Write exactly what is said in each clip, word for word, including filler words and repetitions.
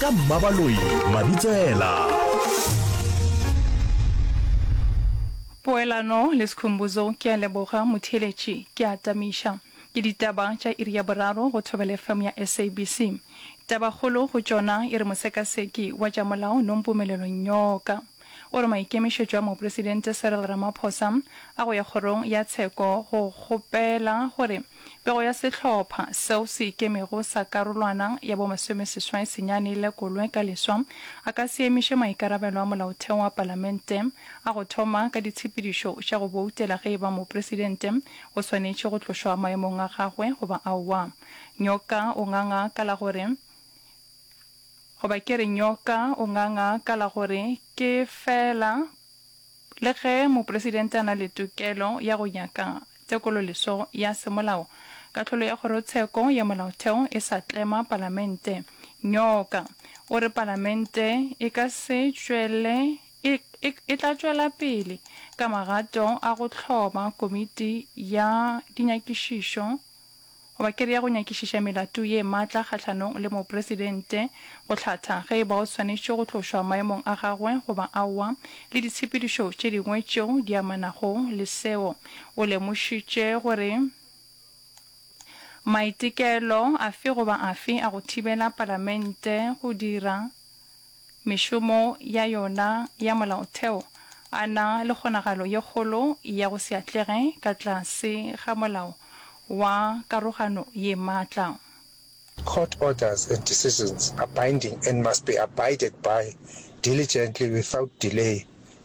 Ka Mmabaloi Mabitsela. Poelano le Skhumbuzo ke a leboga motheeletši ke a tamiša. Ke ditaba tša iri ya boraro go Thobela F M ya S A B C. Tabakgolo go tšona e re mosekaseki wa tša molao Nompumelelo Nyoka o re maikemišetšo a Mopresidente Cyril Ramaphosa a go ya kgorong ya tsheko go kgopela gore pego ya sehlopha seo se ikemego sa karolwana ya bomasomeseswai senyane e lekolwe ka leswa a ka se emiše maikarabelo a molaotheo wa palamente a go thoma ka ditshepedišo tša go boutela ge e ba mopresidente o swanetše go tlošwa maemong a gagwe goba aowa. Nyoka o nganga ka la gore goba ke re Nyoka o nganga ka la gore ke fela le ge mopresidente a na le tokelo ya go nyaka tekololeswa ya semolao, kahlolo ya kgorotsheko ya molaotheo e sa tlema palamente. Nyoka o re palamente e ka se tšwele e, e, e tla tšwela pele ka magato a go hloma komiti ya dinyakišišo goba ke re ya go nyakišiša melato ye matla kgahlanong le mopresidente go hlatha ge e ba o swanetše go tlošwa maemong a gagwe goba aowa le ditshepedišo tše dingwe tšeo di amanago le seo. O lemošitše gore maitekelo afe goba afe a go thibela palamente go dira mešomo ya yona ya molaotheo a na le kgonagalo ye kgolo ya go se atlege ka tlase ga molao wa karogano ye matla. Court orders and decisions are binding and must be abided by diligently without delay,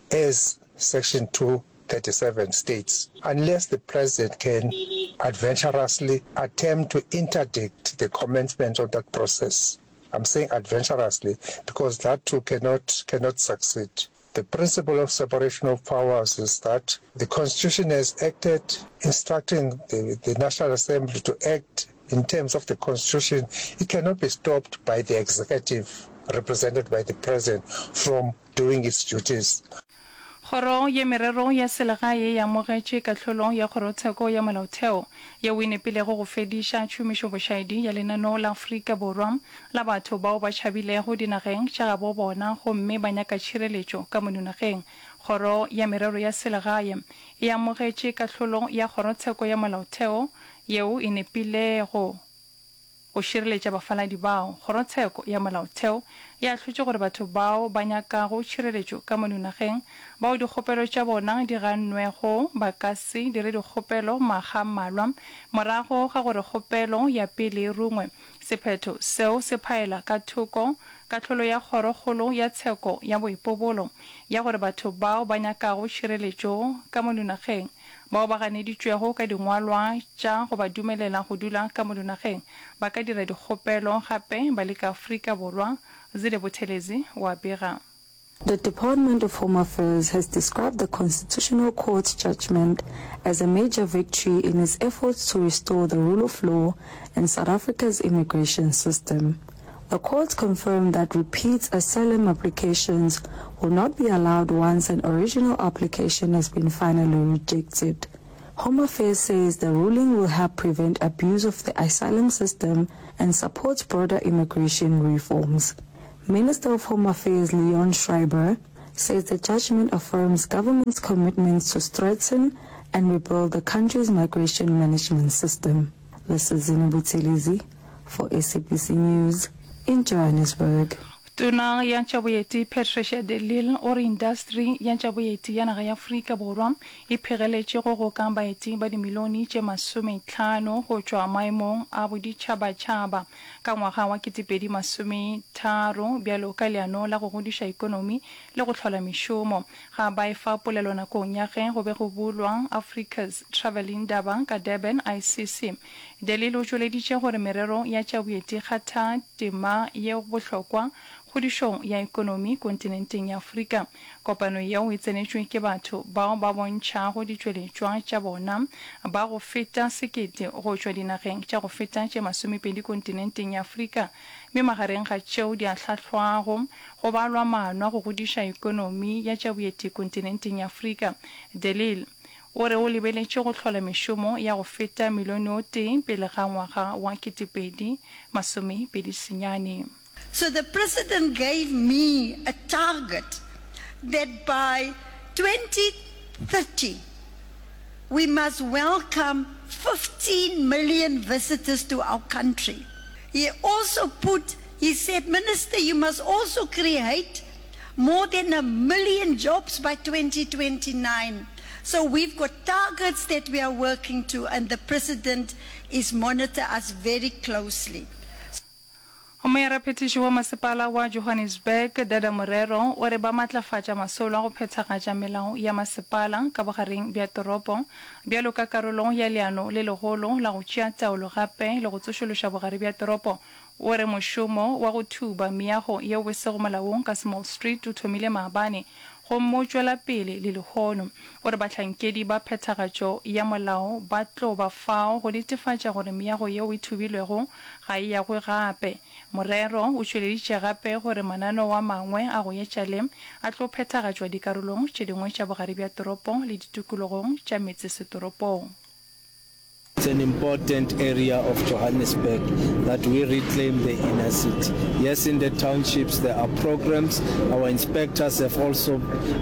as Section two thirty-seven states, unless the president can adventurously attempt to interdict the commencement of that process. I'm saying adventurously because that too cannot, cannot succeed. The principle of separation of powers is that the Constitution has acted instructing the, the National Assembly to act in terms of the Constitution. It cannot be stopped by the executive, represented by the president, from doing its duties. Kgoro ya Merero ya Selegae e amogetše kahlolo ya Kgorotsheko ya Molaotheo yeo e nepilego go fediša tšhomišobošaedi ya lenaneo la Afrika Borwa la batho bao ba tšhabilego dinageng tša gabo bona gomme ba nyaka tšhireletšo ka mono nageng. Kgoro ya Merero ya Selegae e amogetše kahlolo ya Kgorotsheko ya Molaotheo yeo e nepilego go šireletša bafaladi bao. Kgorotsheko ya Molaotheo e ahlotše gore batho bao ba nyakago tšhireletšo ka mono nageng bao dikgopelo tša bona di gannwego ba ka se dire dikgopelo makga a mmalwa morago ga gore kgopelo ya pele e rungwe. Sephetho seo se phaela ka thoko kahlolo ya Kgorokgolo ya Tsheko ya Boipobolo ya gore batho bao ba nyakago tšhireletšo ka mono nageng bao ba ganeditšwego ka dingwalwa tša go ba dumelela go dula ka mono nageng ba ka dira dikgopelo gape ba le ka Afrika Borwa. Zile Buthelezi wa bega. The Department of Home Affairs has described the Constitutional Court's judgment as a major victory in its efforts to restore the rule of law in South Africa's immigration system. The court confirmed that repeat asylum applications will not be allowed once an original application has been finally rejected. Home Affairs says the ruling will help prevent abuse of the asylum system and support broader immigration reforms. Minister of Home Affairs Leon Schreiber says the judgment affirms government's commitment to strengthen and rebuild the country's migration management system. This is Zina Buthelezi for S A B C News in Johannesburg. Tona ya tša Boeti Patricia de Lille o re indasteri ya tša boeti ya naga ya Afrika Borwa e phegeletše go goka baeti ba dimilione tše masometlhano go tšwa maemong a boditšhabatšhaba ka ngwaga wa ketepedi masometharo bjalo ka leano la go godiša ekonomi le go hlola mešomo. Ga ba efa polelo nakong ya ge go be go bulwa Africa's Travel Indaba ka Durban, I C C De Lille o tšweleditše gore merero ya tša boeti kgatha tema ye bohlokwa kgodišong ya ekonomi kontinenteng ya Afrika. Kopano yeo e tsenetšwe ke batho bao ba bontšhago ditšweletšwa tša bona ba go feta sekete go tšwa dinageng tša go feta tše masomepedi kontinenteng ya Afrika, mme magareng ga tšeo di ahlahlwago go balwa maano a go godiša ekonomi ya tša boeti kontinenteng ya Afrika. De Lille o re o lebeletše go hlola mešomo ya go feta milione o tee pele ga ngwaga wa ketepedi masomepedi senyane. So the president gave me a target that by twenty thirty we must welcome fifteen million visitors to our country. He also put, he said, Minister, you must also create more than a million jobs by twenty twenty-nine. So we've got targets that we are working to, and the president is monitor us very closely. Moyaraphethiši wa masepala wa Johannesburg, Dada Morero, o re ba matlafatša masolo a go phethagatša melao ya masepala ka bogareng bja toropo bjalo ka karolo ya leano le legolo la go tšea taolo gape le go tsošološa bogare bja toropo. O re mošomo wa go thuba meago yeo e sego molaong ka Small Street o thomile maabane gomme o tšwela pele le lehono. O re bahlankedi ba phethagatšo ya molao ba tlo ba fao go netefatša gore meago yeo e thubilwego ga e agwe gape. Morero o tšweleditše gape gore mananeo a mangwe a go etša le a tlo phethagatšwa dikarolong tše dingwe tša bogare bja toropo le ditikologong tša metsesetoropong. It's an important area of Johannesburg that we reclaim the inner city. Yes, in the townships there are programs. Our inspectors have also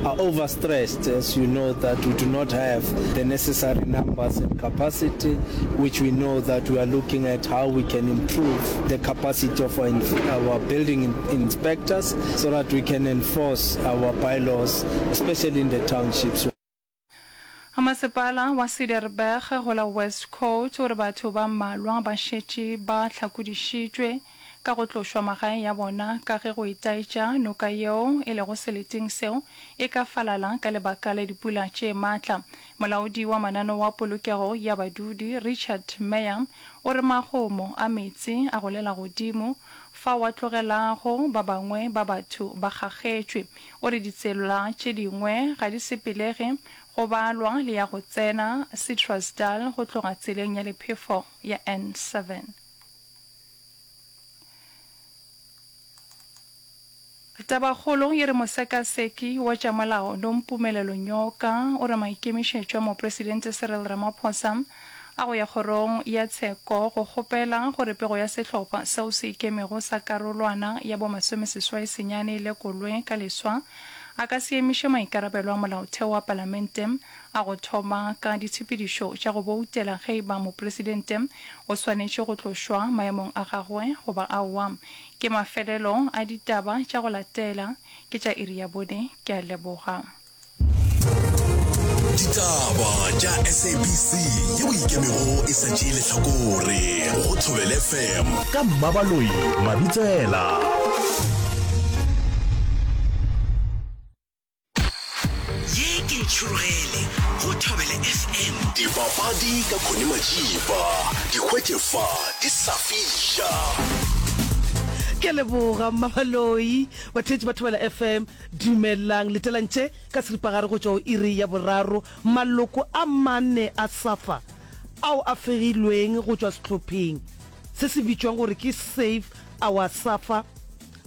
are overstressed, as you know that we do not have the necessary numbers and capacity, which we know that we are looking at how we can improve the capacity of our, our building in, inspectors so that we can enforce our bylaws, especially in the townships. Masepala wa Cederberg go la West Coast o re batho ba mmalwa ba šetše ba hlakodišitšwe ka go tlošwa magaeng ya bona ka ge go itaetša noka yeo e lego seleteng seo e ka falala ka lebaka la dipula tše matla. Molaodi wa mananeo wa polokego ya badudi Richard Meyer o re magomo a meetse a golela godimo fao a tlogelago ba bangwe ba batho ba kgakgetšwe. O re ditsela tše dingwe ga di sepelege go balwa le ya go tsena Citrusdal go tloga tseleng ya lephefo ya N seven. Tabakgolo e re mosekaseki wa tša molao Nompumelelo Nyoka o re maikemišetšo a Mopresidente Cyril Ramaphosa a go ya kgorong ya tsheko go kgopela gore pego ya sehlopha seo se ikemego sa karolwana ya bomasomeseswai senyane e lekolwe ka leswa a ka se emiše maikarabelo a molaotheo wa palamente a go thoma ka ditshepedišo tša go boutela ge e ba mopresidente o swanetše go tlošwa maemong a gagwe goba aowa. Ke mafelelo a ditaba tša go latela ke tša iri ya bone. Ke a leboga. Ditaba tša S A B C yeo ikemego e sa tšee lehlakore go Thobela F M ka Mmabaloi Mabitsela. Ye ke Ntšhurugele go Thobela F M. Dipapadi ka Connie Majiba, di hwetše fa di sa fiša. Ke leboga Mmabaloi, batheetši ba Thobela F M, dumelang letelang tše ka seripagare go tšwa go iri ya boraro. Maloko a mane a SAFA ao a fegilweng go tšwa sehlopheng se se bitšwang gore ke Save Our SAFA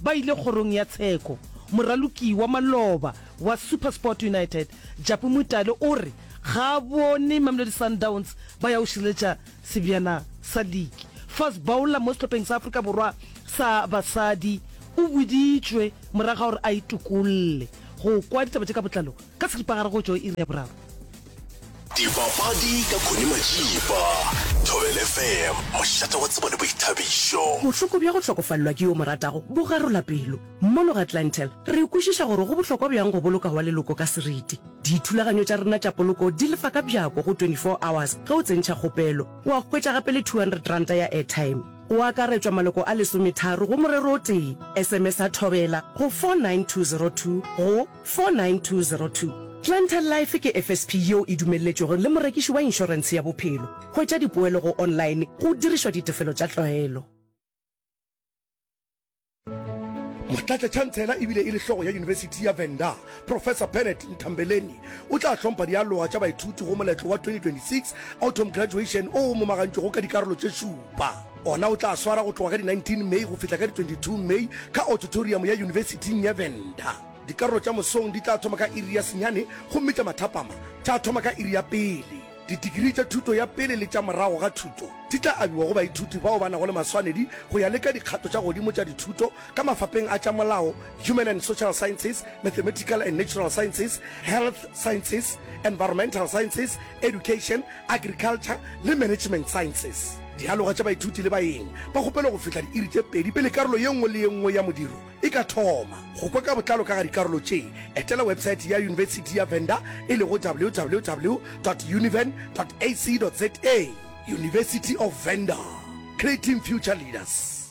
ba ile kgorong ya tsheko. Moraloki wa maloba wa SuperSport United, Japu Mutale o re ga a bone Mamelodi Sundowns ba ya go šireletša sebjana sa liki. Fast bowler mo sehlopheng sa Afrika Borwa sa basadi o boditšwe morago ga gore a itokolle. Go kwa ditaba tše ka botlalo ka seripagare go tšwa iri ya boraro. Dipapadi ka Connie Majiba, Thobela F M, mošate wa tsebo le boithabišo. Bohloko bja go hlokofalelwa ke yo mo ratago bo garola pelo. Mono ga Clientele, re kwešiša gore go bohlokwa bjang go boloka wa leloko ka seriti. Dithulaganyo tša rena tša poloko di lefa ka bjako go twenty-four hours ge o tsentšha kgopelo. Wa hwetša gape le two hundred ranta ya airtime. Go akaretšwa maloko a lesometharo go morero o tee. S M S a Thobela go four nine two zero two go four nine two zero two. Clientele Life ke F S P yeo e dumelletšwego le morekiši wa inšorentshe ya bophelo. Hwetša dipoelo go online go dirišwa ditefelo tša tlwaelo. Motlatšatšhantshela ebile e le hlogo ya Yunibesithi ya Venda, Professor Bennett Nthambeleni, o tla hlompha dialoga tša baithuti go moletlo wa twenty twenty-six Autumn Graduation o o momagantšwego ka dikarolo tše šupa. Ona o tla swara go tloga ka di nineteen May go fihla ka di twenty-two May ka auditorium ya Yunibesithing ya Venda. Dikarolo tša mosong di tla thoma ka iri ya senyane gomme tša mathapama tša thoma ka iri ya pele. Ditikrii tša thuto ya pele le tša morago ga thuto di tla abiwa go baithuti bao ba nago le maswanedi go ya le ka dikgato tša godimo tša dithuto ka mafapeng a tša molao, human and social sciences, mathematical and natural sciences, health sciences, environmental sciences, education, agriculture le management sciences. Dialoga tša baithuti le baeng ba kgopelwa go fihla diiri tše pedi pele karolo ye nngwe le ye nngwe ya modiro e ka thoma. Go kwa ka botlalo ka ga dikarolo tše, etela websaete ya Yunibesithi ya Venda e lego www dot univen dot ac dot za. University of Venda, creating future leaders.